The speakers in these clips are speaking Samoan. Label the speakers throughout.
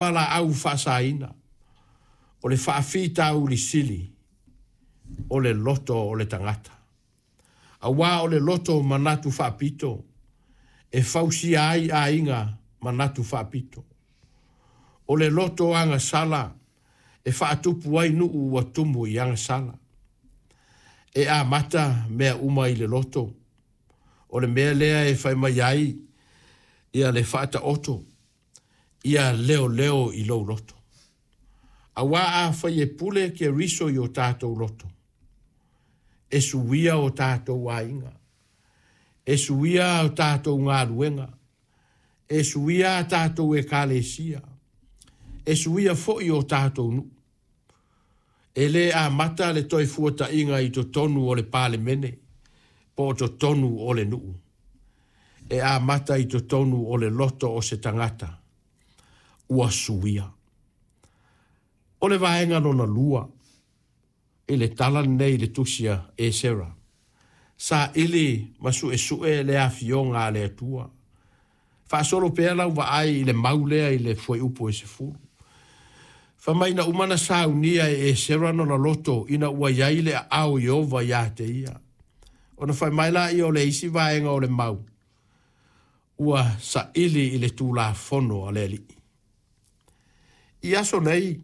Speaker 1: Fualaau faasaina, o le faafitauli sili o le loto o le tagata. Aua o le loto manatu faapito, e fausia ai aiga manatu faapito. O le loto agasala e faatupu ai nuu ua tumu i agasala. E amata mea uma i le loto. O le mea lea e fai mai ai ia le faataoto, ia leoleo i lou loto. Aua afai e pule Keriso i o tatou loto, e suia o tatou aiga, e suia o tatou galuega, e suia a tatou ekalesia, e suia foi o tatou nuu. E le amata le Toefuataiga i totonu o le Palemene po o totonu o le nuu. E amata i totonu o le loto o se tagata ua suia. O le vaega lona lua i le tala lenei i le tusi a Esera, saili ma suesue le afioga a le Atua. Faasolo pea lau vaai i le mau lea i le fuaiupu e 10. Fai mai na uma na saunia e Esera lona loto ina ua i ai le aao o Ieova ia te ia. Ona fai mai lea o le isi vaega o le mau, ua saili i le Tulafono a le Alii. I aso nei,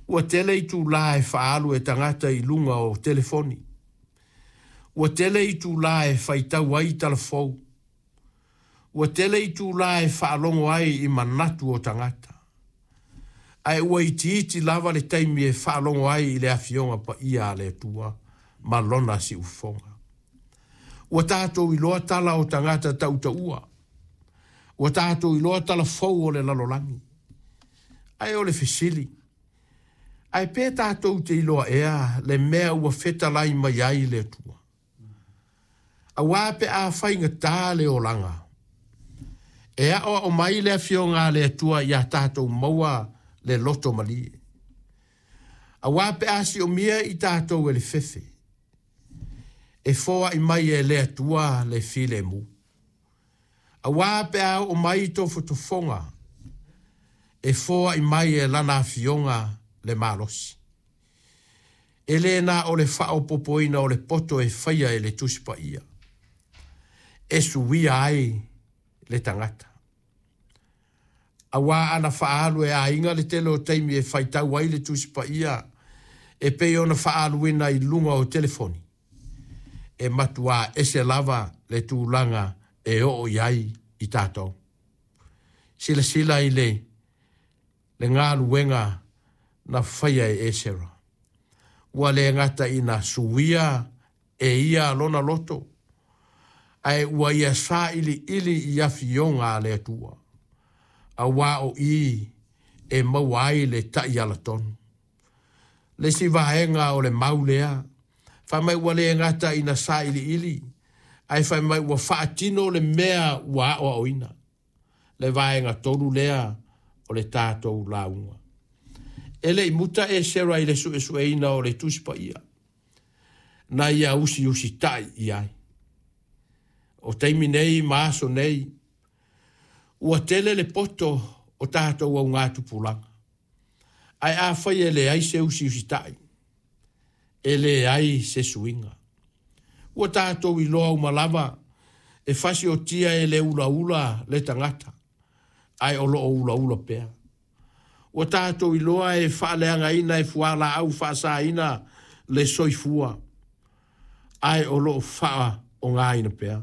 Speaker 1: ua tele itulā e faaalu e tagata i luga o telefoni. Ua tele itulā e faitau ai i talafou. Ua tele itulā e faalogo ai i manatu o tagata. Ae ua itiiti lava le taimi e faalogo ai i le Afioga Paia a le Atua ma Lona siufofoga. Ua tatou iloa tala o tagata tautaua. Ua tatou iloa tala fou o le lalolagi. Ae o le fesili, ae pe tatou te iloa ea le mea ua fetalai mai ai le Atua? Aua pe a faigata le olaga, e aoao mai le Afioga a le Atua ia tatou maua le loto malie. Aua pe a siomia i tatou e le fefe, e foai mai e le Atua le filemu. Aua pe a oo mai tofotofoga, e foai mai e lana afioga le malosi. E le na o le faaopoopoina o le poto e faia e le Tusi Paia, e suia ai le tagata. Aua ana faaalu e aiga le tele o taimi e faitau ai le Tusi Paia e pei ona faaaluina i luga o telefoni, e matuā ese lava le tulaga e oo i ai i tatou. Silasila i le le galuega na faia e Esera. Ua le gata ina suia e ia lona loto, ae ua ia sailiili i afioga a le Atua, aua o i e maua ai le taiala tonu. Le isi vaega o le mau lea, fai mai ua le gata ina sailiili, ae fai mai ua faatino le mea ua aoaoina. Le vaega tolu lea o le tatou lauga. E le i muta Esera i le suesueina o le Tusi Paia, na ia usiusitai i ai. O taimi nei ma aso nei, ua tele le poto o tatou augatupulaga. Ae afai e leai se usiusitai, e leai se suiga. Ua tatou iloa uma lava e fasiotia e le ulaula le tagata, ae o lo o ulaula pea. Ua tatou iloa e faaleagaina e fualaau faasaina le soifua, ae o lo o faaaogaina pea.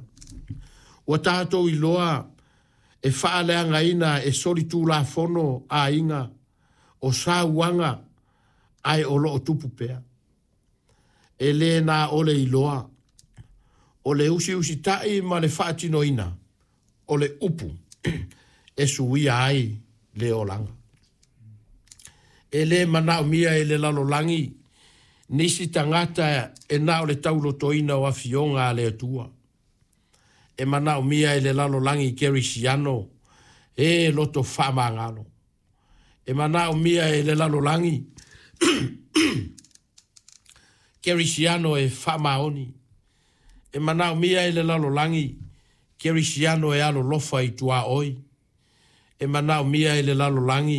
Speaker 1: Ua tatou iloa e faaleagaina e solitulafono aiga o sauaga, ae o lo o tupu pea. E le na o le iloa, o le usiusitai ma le faatinoina o le upu e suia ai le olaga. E le manaomia e le lalolagi nisi tagata e na o le taulotoina o afioga a le Atua. E manaomia e le lalolagi kerisiano e loto faamagalo. E manaomia e le lalolagi kerisiano e faamaoni. E manaomia e le lalolagi kerisiano e alolofa i tuaoi. E manaomia e le lalolagi